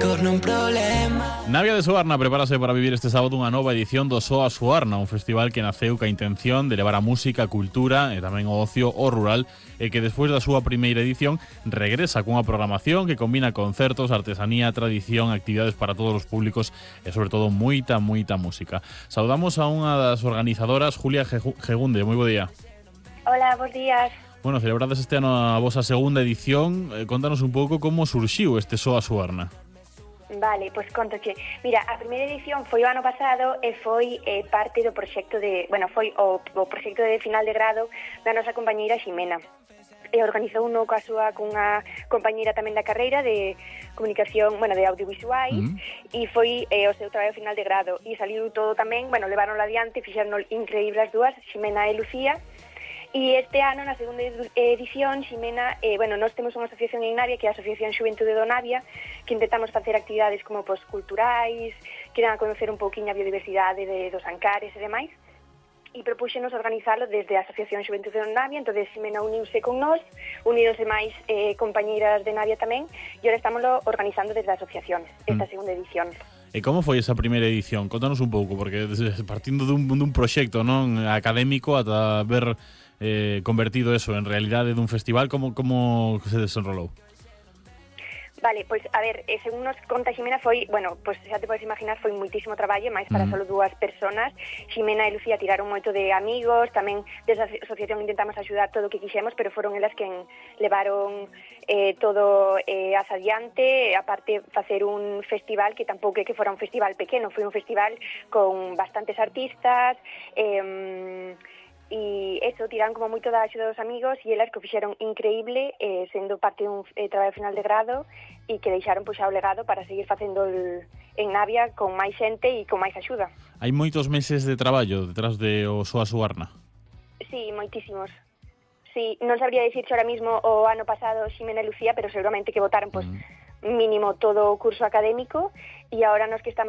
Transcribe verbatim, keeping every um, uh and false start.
Corno un problema. Navia de Suarna prepárase para vivir este sábado unha nova edición do Soa Suarna, un festival que naceu ca intención de levar a música, a cultura e tamén o ocio ao rural e que despois da súa primeira edición regresa cunha programación que combina concertos, artesanía, tradición, actividades para todos os públicos e sobre todo moita, moita música. Saudamos a unha das organizadoras, Julia Gegunde. Moi bo día. Hola, bons días. Bueno, celebrades este ano a vosa segunda edición. Eh, contanos un pouco como surxiu este Soa Suarna. Vale, pois contoche. Mira, a primeira edición foi o ano pasado e foi eh, parte do proxecto de, bueno, foi o, o proxecto de final de grado da nosa compañeira Ximena. E organizou uno coa súa cunha compañeira tamén da carreira de comunicación, bueno, de audiovisuais, mm. e foi eh, o seu traballo final de grado. E saliu todo tamén, bueno, levaronlo adiante, fixeron increíbles as dúas, Ximena e Lucía. E este ano, na segunda edición, Ximena, eh, bueno, nós temos unha asociación en Navia, que é a Asociación Xuventude do Navia, que intentamos facer actividades como pois, culturais, que dan a conocer un pouquinho a biodiversidade de, dos ancares e demais, e propúxenos organizalo desde a Asociación Xuventude do Navia. Entón, Ximena uniuse con nós, unironse máis eh, compañeiras de Navia tamén, e agora estamos organizando desde a asociación, esta mm. segunda edición. E como foi esa primeira edición? Contanos un pouco, porque partindo dun, dun proxecto non académico ata ver eh, convertido eso en realidade dun festival, como, como se desenrolou? Vale, pois, a ver, eh, según nos conta Ximena foi, bueno, pois xa te podes imaginar, foi moitísimo traballo, máis para mm. solo dúas personas. Ximena e Lucía tiraron moito de amigos, tamén desa asociación intentamos axudar todo o que quixemos, pero foron elas quen levaron eh, todo eh, as adiante, aparte facer un festival que tampouco é que fora un festival pequeno, foi un festival con bastantes artistas, eh, e eso, tiraron como moito da axuda dos amigos e elas que o fixeron increíble, eh, sendo parte dun eh, traballo final de grado e que deixaron puxar o legado para seguir facendo el, en Navia con máis xente e con máis axuda. Hai moitos meses de traballo detrás de o Soa Suarna? Sí, moitísimos. Sí, non sabría dicirche ahora mismo o ano pasado Ximena e Lucía, pero seguramente que votaron pues, mm. mínimo todo o curso académico e agora nos que estamos